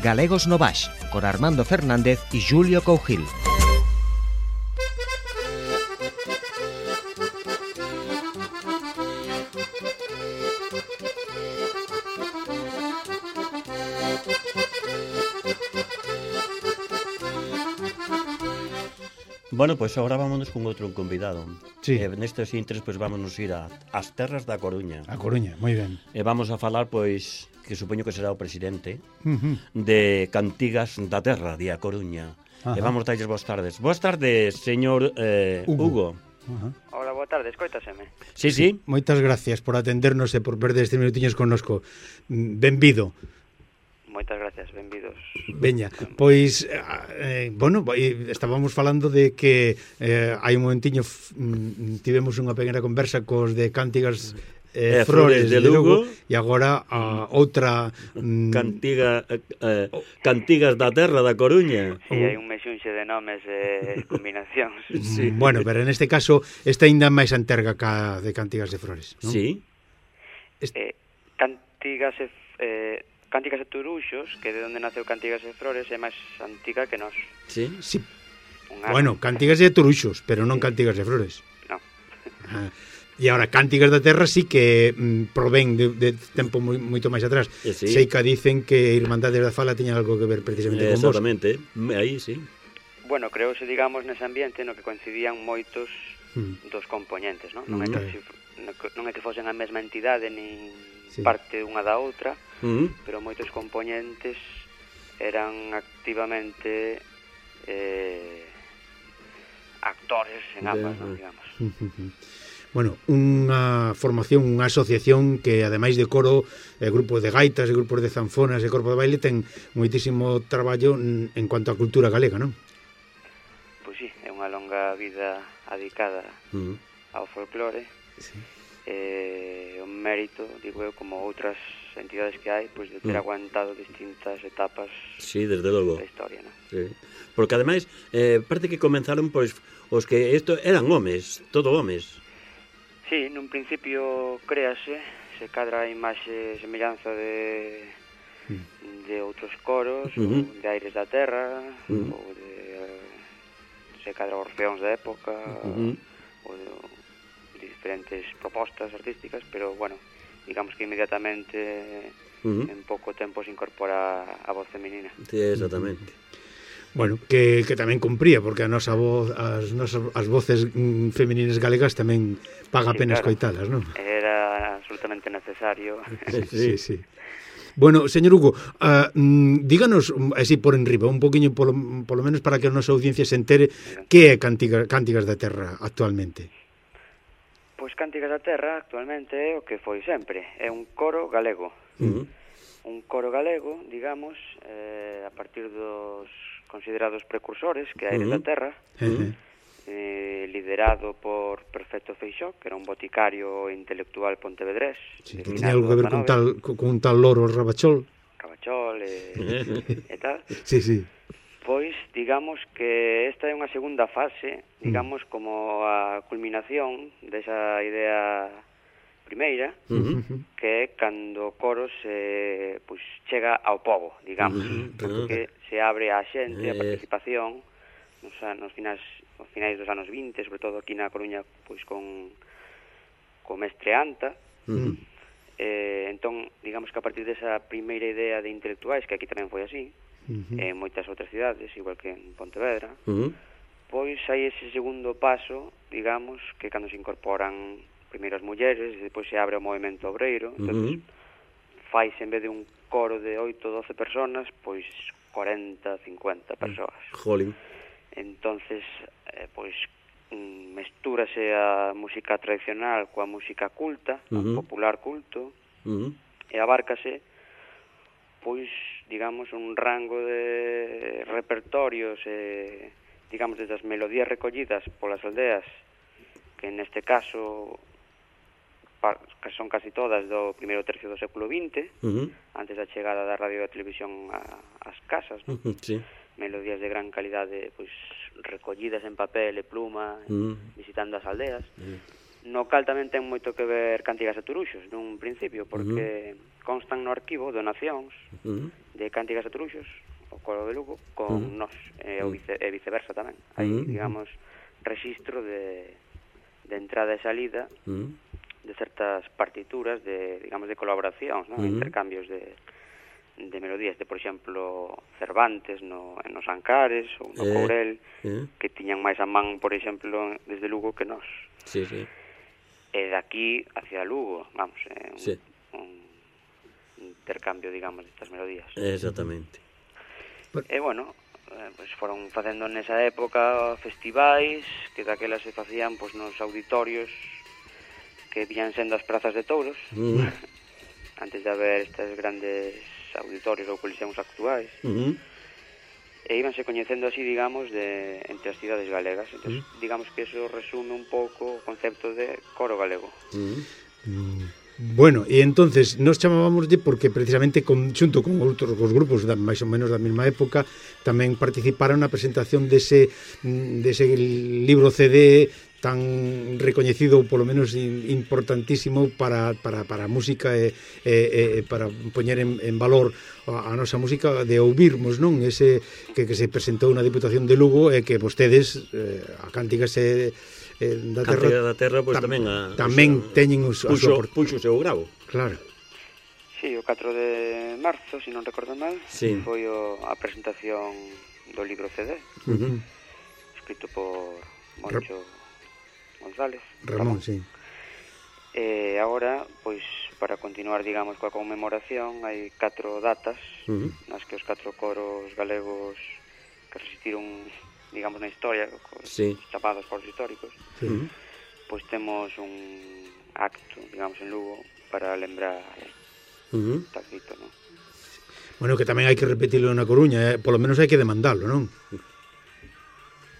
Galegos no Baix, con Armando Fernández e Julio Cougil. Bueno, pois agora vámonos con outro convidado. Sí. Nestes intres, pois vámonos ir ás terras da Coruña. A Coruña, moi ben. E vamos a falar, pois, que supoño que será o presidente de Cantigas da Terra, de A Coruña. Ajá. E vamos darlles boas tardes. Boas tardes, señor Hugo. Ajá. Hola, boa tarde, escoitaseme. Sí, sí. Moitas gracias por atendernos e por perder estes minutiños connosco. Benvido. Moitas gracias, benvidos. Veña, pois, bueno, estábamos falando de que hai un momentiño tivemos unha pequena conversa cos de Cantigas Flores de Lugo e agora a outra Cantigas da Terra da Coruña. Si, hai un mexunxe de nomes e combinacións. Sí. Bueno, pero neste caso está ainda máis anterga ca de Cantigas de Flores, non? Sí. Cantigas e Turuxos, que de onde naceu Cantigas e Flores, é máis antiga que nós. Sí. Sí. Bueno, Cantigas de Turuxos, pero non Cantigas de Flores. Non. E agora, Cantigas da Terra sí que provén de tempo moito máis atrás. Sí. Sei que dicen que Irmandades da Fala teña algo que ver precisamente con vos. Exactamente, aí sí. Bueno, creouse, digamos, nese ambiente no que coincidían moitos dos componentes, non? Non é que fosen a mesma entidade nin parte unha da outra, pero moitos componentes eran activamente actores en ambas, non, digamos. Bueno, unha formación, unha asociación que ademais de coro, grupos de gaitas, grupos de zanfonas e corpo de baile ten moitísimo traballo en cuanto a cultura galega, non? Pois sí, é unha longa vida adicada ao folclore. Sí. O mérito, digo eu, como outras entidades que hai, pois de ter aguantado distintas etapas, sí, desde logo, da historia, non? Sí. Porque ademais, parece que comenzaron pois os que isto eran homes, todo homes. Sí, nun principio créase, se cadra a imaxe semellanza de outros coros, ou de Aires da Terra, ou de se cadra orfeóns da época, ou de diferentes propostas artísticas, pero, bueno, digamos que inmediatamente en pouco tempo se incorpora a voz feminina. Sí, exactamente. Bueno, que tamén cumpría, porque a nosa voz, as voces femininas galegas tamén paga a pena escoitalas, non? Era absolutamente necesario. Sí. Bueno, señor Hugo, díganos, así por enriba, un poquinho, polo menos para que a nosa audiencia se entere, que é Cantigas da Terra actualmente? Pois Cantigas da Terra actualmente é o que foi sempre, é un coro galego. Un coro galego, digamos, a partir dos considerados precursores, que Aires da Terra, liderado por Perfecto Feixó, que era un boticario intelectual pontevedrés. Sí, que tiña algo que ver con un tal loro Rabachol e tal. Sí. Pois, digamos que esta é unha segunda fase, digamos, como a culminación desa idea primeira, que é cando o coro pois, chega ao pobo, digamos, porque se abre a xente, a participación, nos finais dos anos 20, sobre todo aquí na Coruña, pois con mestre Anta. Entón, digamos que a partir desa primeira idea de intelectuais, que aquí tamén foi así, en moitas outras cidades, igual que en Pontevedra, pois hai ese segundo paso, digamos, que cando se incorporan primeiro as mulleres, e depois se abre o movimento obreiro, entón faise en vez de un coro de 8, 12 personas, pois 40, 50 persoas. Jolín. Entonces, pois mestúrase a música tradicional coa música culta, a popular culto, e abárcase, pois, digamos, un rango de repertorios, digamos, desde as melodías recollidas polas aldeas, que neste caso que son casi todas do primeiro tercio do século XX, antes da chegada da radio e da televisión ás casas, non? Sí. Melodías de gran calidade, pois, recollidas en papel e pluma, visitando as aldeas. No cal tamén ten moito que ver Cantigas e Turuxos, nun principio, porque constan no arquivo donacións de Cántigas a Truxos, o coro de Lugo, con nós, e viceversa tamén. Hai, digamos, rexistro de entrada e salida de certas partituras de, digamos, de colaboracións, ¿no? Intercambios de melodías, de, por exemplo, Cervantes nos Ancares ou no Courel, que tiñan máis a man, por exemplo, desde Lugo que nós. Sí, sí. E de aquí hacia Lugo, vamos, un intercambio, digamos, destas melodías. Exactamente. E, bueno, pues foron facendo nesa época festivais que daquela se facían pues, nos auditorios que vían sendo as prazas de touros antes de haber estes grandes auditorios ou coliseums actuais e íbanse coñecendo así, digamos, entre as cidades galegas. Entón, digamos que eso resume un pouco o concepto de coro galego. Bueno, e entonces nos chamábamoslle porque precisamente xunto con outros grupos máis ou menos da mesma época tamén participaron na presentación dese libro CD tan recoñecido, polo menos importantísimo para a música e para poñer en valor a nosa música, de ouvirmos, non? Ese que se presentou na Diputación de Lugo e que vostedes, a Cántigas da Terra, pois tamén teñen puxo o seu gravo. Claro. Sí, o 4 de marzo, se non recordo mal, foi a presentación do libro CD, escrito por Moncho González. Ramón, sí. E agora, pois, para continuar, digamos, coa conmemoración, hai 4 datas nas que os 4 coros galegos que resistiron, digamos, na historia, chamados coros históricos, pois temos un acto, digamos, en Lugo para lembrar tal dito, non? Bueno, que tamén hai que repetirlo na Coruña, polo menos hai que demandalo, non?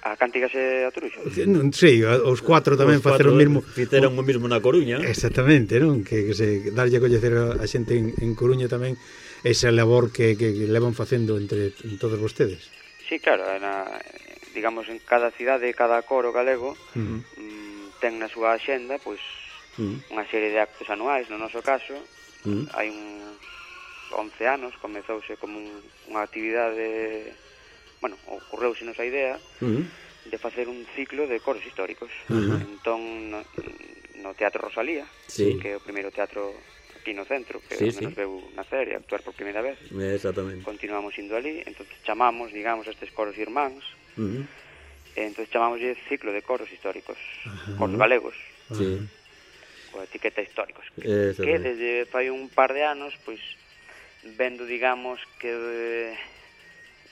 A Cántigas e a Truxos? Sí, os 4 tamén facer o mesmo. Fiteron o mesmo na Coruña. Exactamente, non? Que se darlle a coñecer a xente en Coruña tamén esa labor que levan facendo entre todos vostedes. Sí, claro, digamos, en cada cidade, cada coro galego ten na súa axenda, pois, unha serie de actos anuais. No noso caso, hai uns 11 anos, comezouse como unha actividade... Bueno, ocorreuse-nos a idea de facer un ciclo de coros históricos. Entón, no Teatro Rosalía, que é o primeiro teatro aquí no centro, que onde nos veu nacer e actuar por primeira vez. Exactamente. Continuamos indo ali, entón chamamos, digamos, estes coros irmáns, e entón chamamos ciclo de coros históricos, coros galegos, coa etiqueta históricos, que desde fai un par de anos, pois, vendo, digamos, que...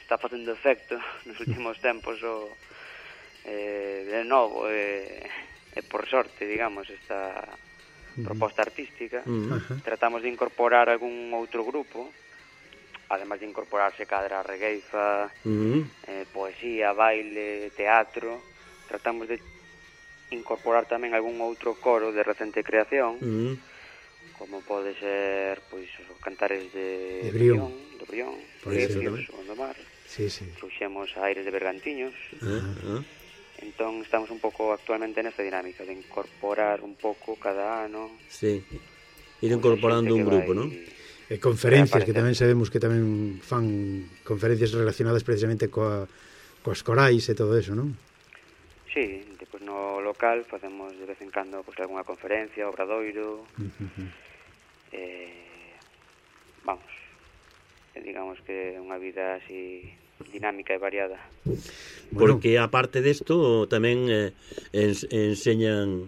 está facendo efecto nos últimos tempos de novo e por sorte, digamos, esta proposta artística. Tratamos de incorporar algún outro grupo, además de incorporarse cadra regueifa, poesía, baile, teatro. Tratamos de incorporar tamén algún outro coro de recente creación, como pode ser, pois, os cantares de Brión, o Gondomar. Trouxemos a Aires de Bergantiños. Entón estamos un pouco actualmente nesta dinámica de incorporar un pouco cada ano. Ir incorporando un grupo, non? E conferencias, que tamén sabemos que tamén fan conferencias relacionadas precisamente coas corais e todo eso, non? Sí, depois no local facemos de vez en cando pues, alguna conferencia, obradoiro. Vamos, digamos que é unha vida así dinámica e variada. Porque aparte desto tamén enseñan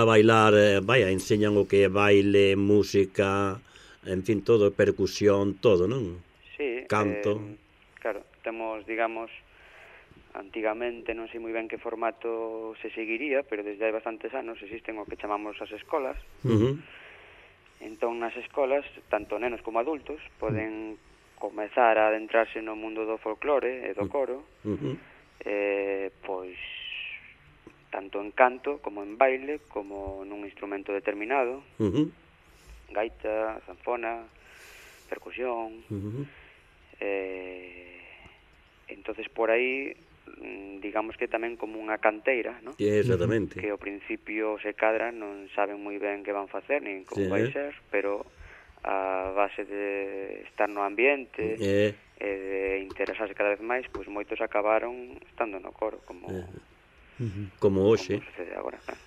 a bailar, enseñan o que é baile, música, en fin, todo, percusión, todo, non? Sí, canto. Claro, temos, digamos, antigamente non sei moi ben que formato se seguiría, pero desde hai bastantes anos existen o que chamamos as escolas. Entón, nas escolas, tanto nenos como adultos poden comezar a adentrarse no mundo do folclore e do coro, pois, tanto en canto, como en baile, como nun instrumento determinado, gaita, zanfona, percusión, entonces por aí, digamos que tamén como unha canteira, ¿no? Exactamente. Que ao principio se cadran, non saben moi ben que van facer, nin como vai ser, pero a base de estar no ambiente e de interesarse cada vez máis, pois moitos acabaron estando no coro, como hoxe. Como sucede agora, claro.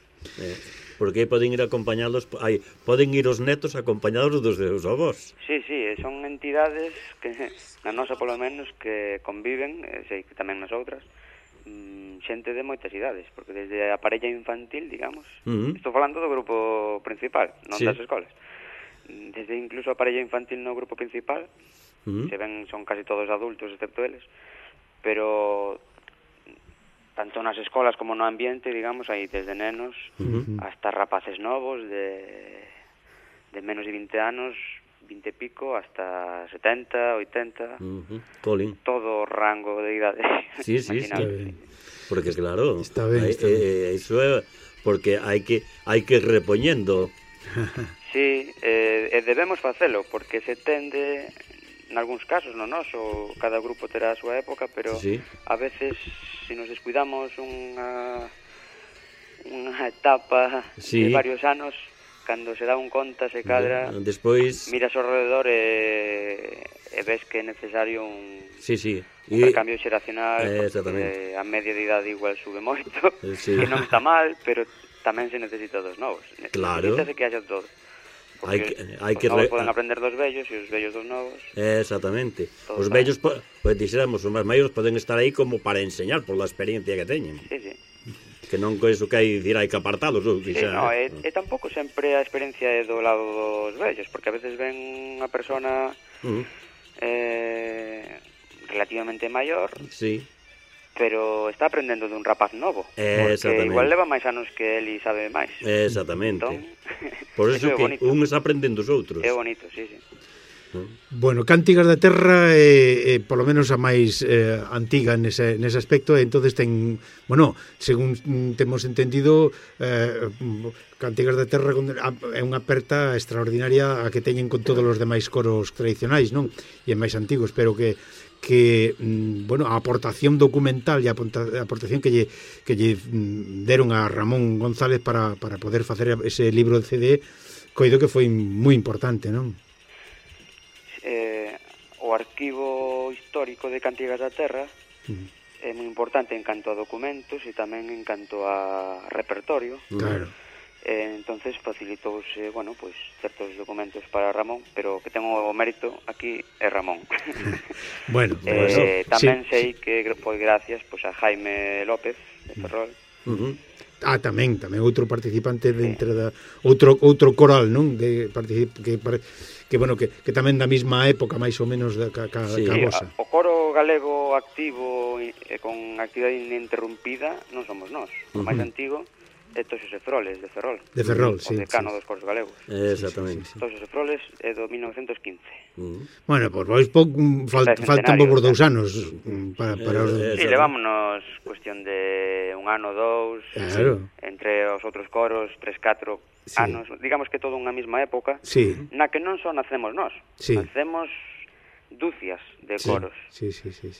Porque poden ir acompañados, poden ir os netos acompañados dos seus avós. Sí, son entidades que, na nosa polo menos, que conviven, sei que tamén nas outras, xente de moitas idades, porque desde a parella infantil, digamos, estou falando do grupo principal, non das escolas, desde incluso a parella infantil no grupo principal, se ven, son casi todos adultos, excepto eles, pero tanto nas escolas como no ambiente, digamos, hai desde nenos hasta rapaces novos de menos de 20 anos, 20 e pico, hasta 70, 80, todo rango de idade. Sí, está ben. Porque claro, está ben. Iso é porque hai que repoñendo. Sí, e debemos facelo, porque se tende, nalgúns casos, no noso, cada grupo terá a súa época, pero a veces, se nos descuidamos unha etapa de varios anos, cando se dá un conta, se cadra, despois miras ao rededor e ves que é necesario un recambio xeracional, porque a media de idade igual sube moito, que non está mal, pero tamén se necesita dos novos. Necesitase que haxa todo. Porque os novos poden aprender dos vellos e os vellos dos novos. Exactamente. Os vellos, pois dixéramos, os máis maiores poden estar aí como para enseñar por la experiencia que teñen. Sí. Que non co iso que hai dicir hai que apartalos. E tampouco sempre a experiencia é do lado dos vellos, porque a veces ven unha persona relativamente maior, pero está aprendendo dun rapaz novo, porque igual leva máis anos que el e sabe máis. Exactamente. Por eso que un está aprendendo os outros. É bonito, sí. Bueno, Cántigas da Terra polo menos a máis antiga nese aspecto, entonces ten, bueno, según temos entendido, Cántigas da Terra é unha aperta extraordinaria a que teñen con todos os demais coros tradicionais, non? E máis antigos, pero que bueno, a aportación documental e a aportación que lle deron a Ramón González para poder facer ese libro de CD, coido que foi moi importante, non? O arquivo histórico de Cántigas da Terra é moi importante en canto a documentos e tamén en canto a repertorio. Claro. Entonces facilitouse, bueno, pues certos documentos para Ramón, pero que ten o mérito aquí é Ramón. Bueno, tamén sei que foi gracias pues a Jaime López de Ferrol. Tamén outro participante dentro da outro coral, non? Que bueno, que tamén da mesma época máis ou menos da vosa. O coro galego activo e con actividade ininterrumpida non somos nós. O máis antigo é Toxos e Froles, de Ferrol. De Ferrol, sí. O decano dos coros galegos. Exactamente. Toxos e Froles é do 1915. Bueno, pois faltan vos 2 anos para os... Sí, levámonos cuestión de 1 ano, 2, entre os outros coros, 3, 4 anos, digamos que todo unha mesma época, na que non só nacemos nós, nacemos dúcias de coros,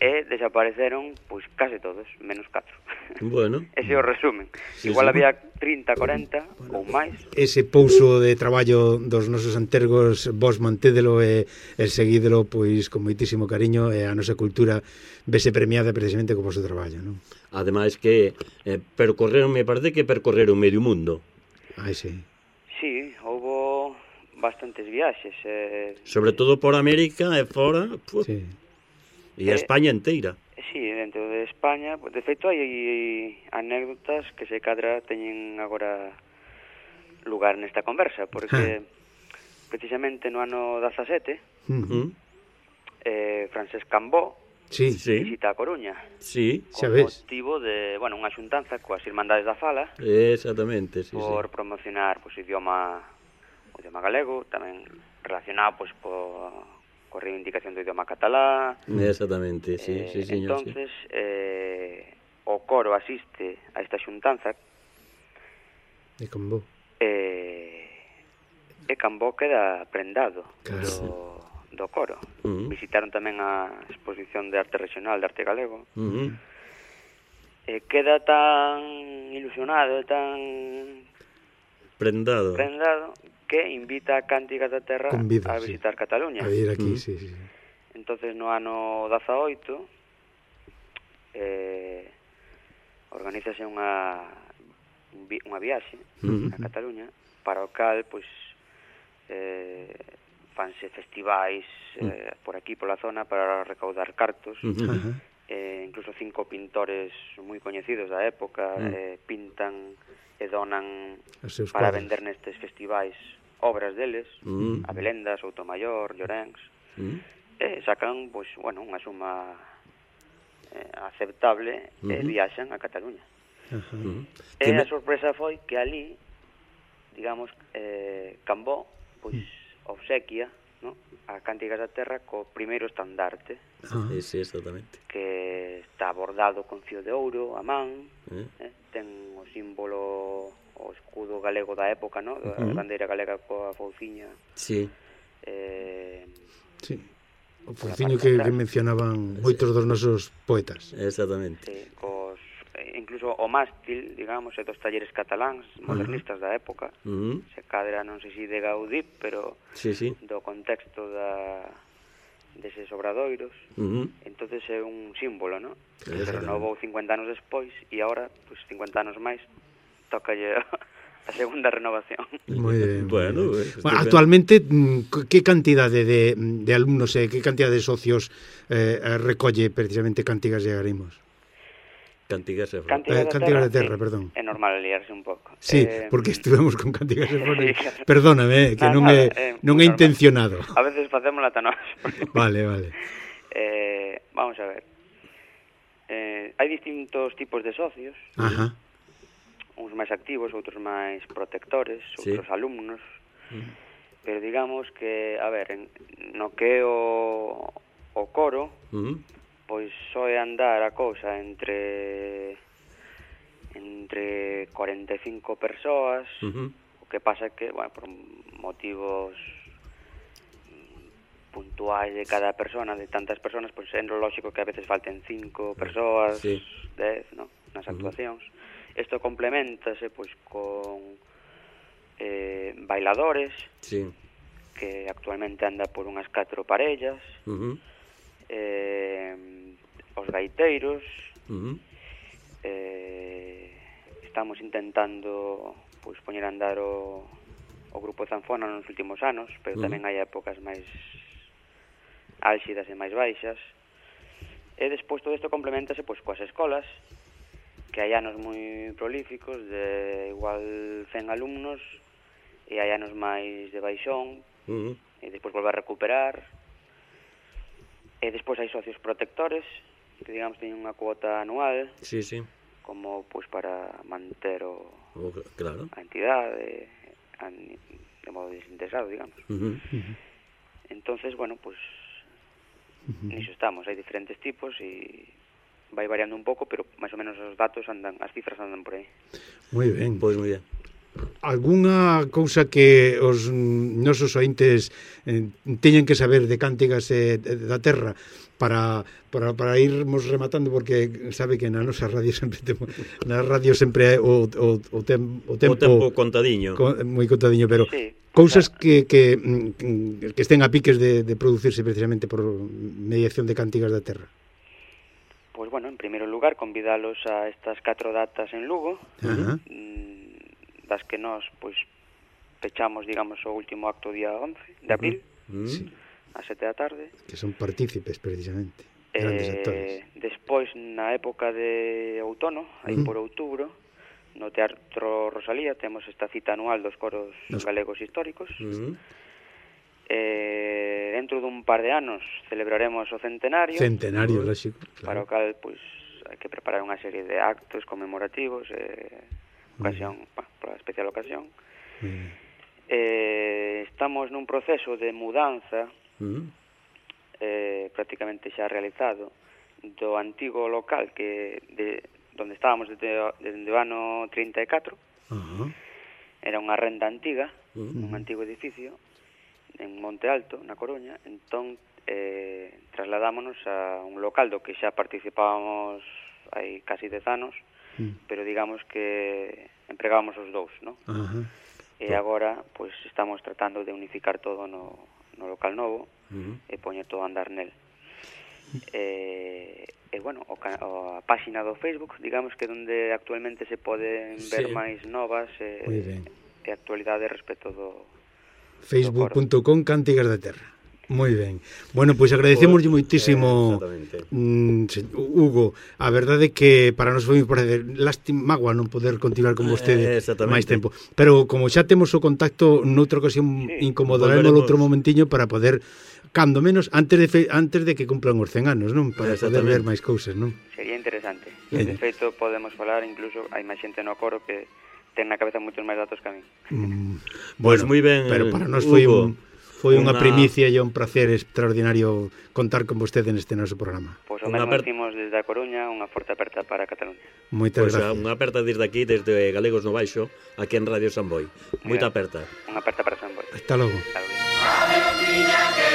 e desapareceron pois case todos, menos 4. Bueno. Ese é o resumen. Igual había 30, 40 ou máis. Ese pouso de traballo dos nosos antergos, vos mantédelo e seguídelo pois con moitísimo cariño, e a nosa cultura vese premiada precisamente co vosso traballo, non? Ademais que me parece que percorreron medio mundo. Sí, houbo bastantes viaxes. Sobre todo por América e fora, e a España inteira. Sí, dentro de España, de feito hai anécdotas que se cadra teñen agora lugar nesta conversa, porque precisamente no ano 17 Francesc Cambó visita a Coruña con motivo de, bueno, unha xuntanza coas Irmandades da Fala, por promocionar o idioma galego, tamén relacionado pois coa reivindicación do idioma catalá. Exactamente, sí, señor. Entonces, o coro asiste a esta xuntanza e Cambó queda prendado do coro. Visitaron tamén a exposición de arte regional de arte galego. Queda tan ilusionado, tan prendado que invita a Cántigas da Terra Convida, a visitar Cataluña. A ir aquí, sí. Entonces no ano 18 organízase unha viaxe a Cataluña, para o cal pois fanse festivais por aquí, pola zona, para recaudar cartos. Incluso 5 pintores moi coñecidos da época pintan e donan para vender nestes festivais obras deles, Abelenda, Soutomayor, Llorenç, e sacan pois, bueno, unha suma aceptable e viaxan a Cataluña. E a sorpresa foi que ali, digamos, Cambó pois obsequia, no, a Cántigas da Terra co primeiro estandarte, sí, exactamente, que está bordado con fío de ouro a man, ten o símbolo, o escudo galego da época, no, da bandeira galega coa fouciña. Sí. Sí. O fouciño que mencionaban moitos dos nosos poetas. Exactamente. Sí, incluso o mástil, digamos, é dos talleres cataláns modernistas da época. Se cadra, non sei se de Gaudí, pero do contexto deses obradoiros. Entonces é un símbolo, non? Se renovou 50 anos despois e agora, pues, 50 anos máis, tocalle a segunda renovación. Moi ben. Bueno, actualmente, que cantidade de alumnos e que cantidade de socios recolle precisamente Cántigas de Agarimos? Cántigas de Terra, perdón. É normal liarse un pouco. Sí, porque estuvemos con Cántigas de Terra. Perdóname, que non é intencionado. A veces facemos la tanos. Vale. Vamos a ver. Hai distintos tipos de socios. Uns máis activos, outros máis protectores, outros alumnos. Pero digamos que, a ver, no que o coro, pois soe andar a cousa entre 45 persoas, o que pasa que, bueno, por motivos puntuais de cada persona, de tantas personas, pois é lógico que a veces falten 5 persoas, 10, no, nas actuacións. Isto complementase pois con bailadores, que actualmente anda por unhas 4 parellas, os gaiteiros, estamos intentando pois poñer a andar o grupo de zanfona nos últimos anos, pero tamén hai épocas máis álxidas e máis baixas. E despois todo isto complementase pois coas escolas, que hai anos moi prolíficos, de igual 100 alumnos, e hai anos máis de baixón, e despois volve a recuperar. E despois hai socios protectores, que digamos teñen unha cuota anual, como pois para manter a entidade de modo desinteresado, digamos. Entonces, bueno, pois niso estamos, hai diferentes tipos e vai variando un pouco, pero máis ou menos os datos andan, as cifras andan por aí. Moi ben. Pois moi ben. Alguna cousa que os nosos ointes teñen que saber de Cántigas da Terra para irmos rematando, porque sabe que na nosa radio sempre é o tempo contadiño, moi contadiño, pero cousas que estén a piques de producirse precisamente por mediación de Cántigas da Terra. Pois bueno, en primeiro lugar, convidalos a estas 4 datas en Lugo, das que nós pois pechamos, digamos, o último acto día 11 de abril, a 7 da tarde. Que son partícipes, precisamente, grandes actores. Despois, na época de outono, aí por outubro, no Teatro Rosalía, temos esta cita anual dos coros galegos históricos. Dentro dun par de anos celebraremos o centenario, lógico, claro. Para o cal pois hai que preparar unha serie de actos conmemorativos, ocasión, por a especial ocasión. Estamos nun proceso de mudanza prácticamente xa realizado do antigo local donde estábamos desde o ano 34. Era unha renda antiga, un antigo edificio en Monte Alto, na Coruña. Entón trasladámonos a un local do que xa participábamos hai casi 10 anos, pero digamos que empregábamos os dous, non? E agora, pois, estamos tratando de unificar todo no local novo e poñer todo a andar nel. E bueno, a páxina do Facebook, digamos que onde actualmente se poden ver máis novas e actualidade respecto do facebook.com Cántigas da Terra. Moi ben. Bueno, pois agradecemos moitísimo Hugo. A verdade é que para nós foi lástima, magua non poder continuar con vostede máis tempo. Pero como xa temos o contacto noutra ocasión, incomodaremos outro momentiño para poder, cando menos antes de que cumplan os 100 anos, non? Para poder ver máis cousas, non? Sería interesante. De feito podemos falar, incluso hai máis xente no coro que ten na cabeza moitos máis datos que a mí. Pois moi ben, pero para nós foi unha primicia e un placer extraordinario contar con vostede neste noso programa. Pois o mesmo decimos desde a Coruña, unha forte aperta para Cataluña. Moitas gracias. Unha aperta desde aquí, desde Galegos no Baixo, aquí en Radio Samboy. Moita aperta. Unha aperta para Samboy. Hasta logo. Hasta logo.